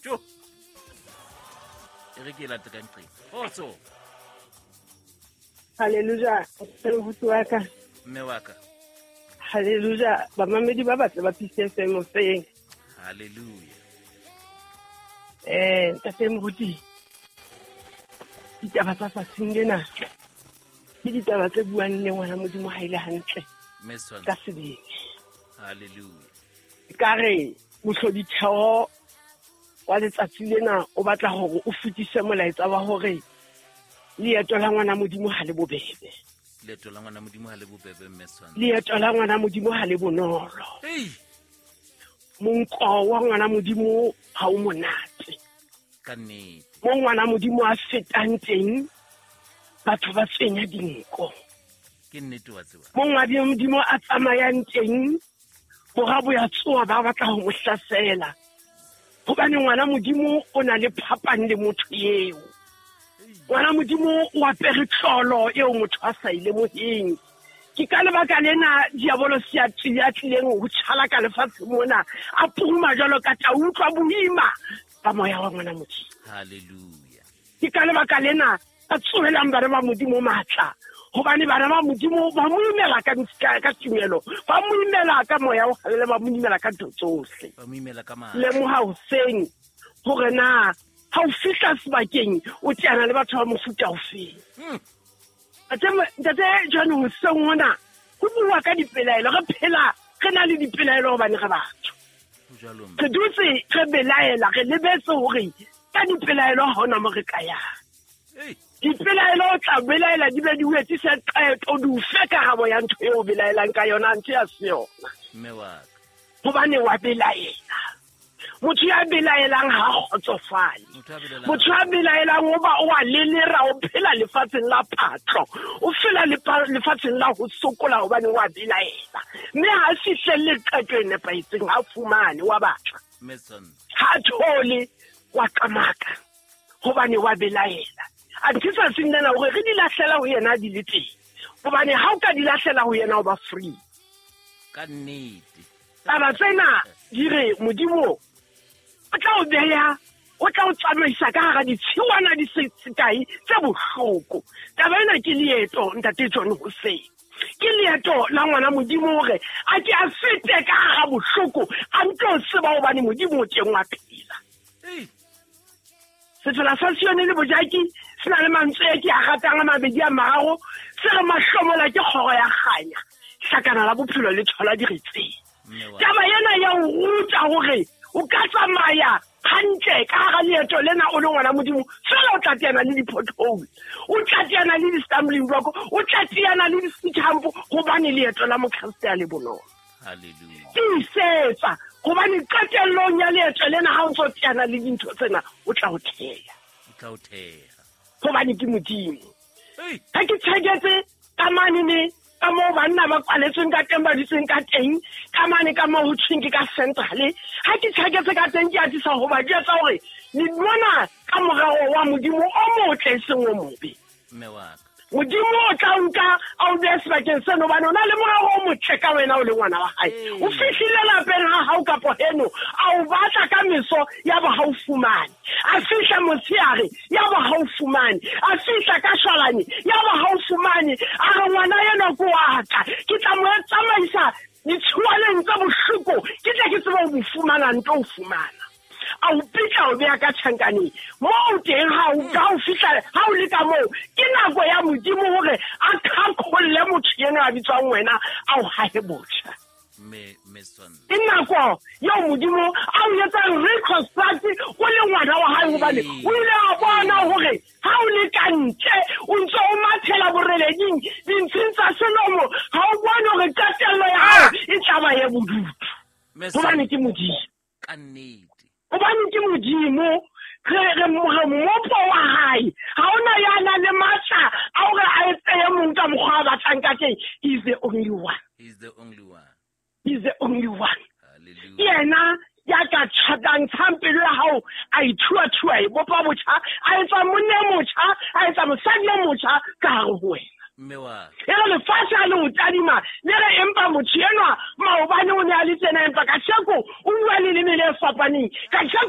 Jo. E re ke late ka nqeng. Kgotso. Hallelujah. Moruti wa ka. Mme wa ka. Hallelujah. Bamamedi ba batle ba Peace FM hoseng. Hallelujah. Ntate Moruti. Ditaba tsa tsatsing lena ke ditaba tse buang le ngwana Modimo ha ile hantle. Ka sebele. Hallelujah. Ka re mohloditheo wa letsatsi lena o batla hore o fetise molaetsa wa hore leeto la ngwana Modimo ha le bobebe. Leeto la ngwana Modimo ha le bobebe, mme Tshwantsho. Leeto la ngwana Modimo ha le bonolo. Ei. Monko wa ngwana Modimo ha o monate. Ka nnete. Mo ngwana Modimo a fetang teng, batho ba tsenya dinko. Ke nnete wa tseba. Mo ngwana Modimo a tsamayang teng, bora bo ya tsoa ba batla ho mo hlasela. Hobane ngwana Modimo o na le phapang le motho eo. Ngwana Modimo o apere tlolo eo motho a sa e lemoheng. Ke ka lebaka lena diabolosi a tlileng ho tjhala ka lefatshe mona, a puruma jwalo ka tau, utlwa boima ba moya wa ngwana Modimo. Hallelujah. Ke ka lebaka lena a tsohelang bana ba Modimo matla, hobane bana ba Modimo ba mo imela ka tumelo, ba mo imela ka moya o halale, ba mo imela ka ntho tsohle. Ba mo imela ka matla. Lemoha hoseng hore na ha o fihla sebakeng o teana le batho ba mofuta ofeng. Ntate John, hoseng hona ho bua ka dipelaelo, re phela re na le dipelaelo hobane re batho. Re dutse re belaela, re lebetse hore ka dipelaelo ha hona mo re ka yang. Dipelaelo o tla belaela di be di o etsise qeto, di o fe karabo ya ntho eo o belaelang ka yona, ntho ya se yona. Mme wa ka. Hobane wa belaela. Motho ya belaelang ha kgotsofale. Motho ya belaelang o ba o a lelera, o phela lefatsheng la patlo, o phela lefatsheng la ho sokola hobane wa belaela. Mme ha fihlelle qeto e nepahetseng, ha fumane, wa batla. Ha thole, wa qamaka hobane wa belaela. Anthe tsatsing lena hore re di lahlela ho yena di le teng. Hobane ha o ka di lahlela ho yena o ba free. Ka nnete. Taba tsena di re Modimo o tla o beha, o tla o tsamaisa ka hara ditshiwana di se kae tse bohloko. Taba ena ke leeto, Ntate John Hoseng. Ke leeto la ngwana Modimo hore a ke a fete ka hara bohloko, a ntlo tseba hobane Modimo o teng wa phela. Sefela sa Sione le Bojaki se na le mantswe a ke a ratang a mabedi a mararo, se re mahlomola ke kgoro ya kganya, hlakana la bophelo le thola diretseng. Taba ena ya o ruta hore o ka tsamaya hantle ka hara leeto lena o le ngwana Modimo, fela o tla teana le di-pothole, o tla teana le di-stumbling block, o tla teana le di-speed hump, hobane leeto la Mokreste a le bonolo. Hallelujah. Tiisetsa hobane qetellong ya leeto lena ha o ntso teana le dintho tsena, o tla o theha. O tla o theha. Hobane ke Modimo. Ha ke tjheketse ka mane ne, ka moo banna ba kwaletsweng ka teng, ba dutseng ka teng, ka mane ka moo ho thweng ke ka centrale. Ha ke tjheketse ka teng, ke atisa ho ba jwetsa hore le mona ka morero wa Modimo o motle e seng o mobe. Mme wa ka. Modimo o tla nka a o behe sebakeng seno, hobane o na le morero o motle ka wena o le ngwana wa hae. O fihlile lapeng ha hao kapo heno, a o batla ka meso, ya ba ha o fumane. A fihla motshehare, ya ba ha o fumane. A fihla ka shwalane, ya ba ha o fumane. A re ngwana enwa ke wa ka, ke tla mo tsamaisa ditshuwaneng tse bohloko, ke tle ke tsebe ho mo fumana, nto o fumana. A o pitla o beha ka tjhankaneng. Moo teng ha o ka o fihla, ha o le ka moo, ke nako ya Modimo hore a qhaqholle motho enwa a bitswang wena, a o hahe botjha. Ke nako eo Modimo a o etsang reconstruct o le ngwana wa hae, hobane o ile a bona hore ha o le ka ntle, o ntse o mathela boreleding, dintshing tsa selomo, ha o bone hore qetello ya hao e tla ba ye bodutu. Hobane ke Modimo. Ka nnete. Hobane ke Modimo, re mmopo wa hae. Ha hona ya nang le matla a hore a etse e mong ka mokgwa a batlang ka teng. He is the only one. He is the only one. He is the only one. Hallelujah. Ke yena ya ka tjhatang tshang pelo ya hao, a ithuathua, a e bopa botjha, a etsa monna e motjha, a etsa mosadi e motjha ka hare ho wena. Mme wa ka. E re lefatshe ha le o tadima, le re empa motho enwa maobane o ne a le tjena, empa kasheko o bua leleme le fapaneng. Kasheko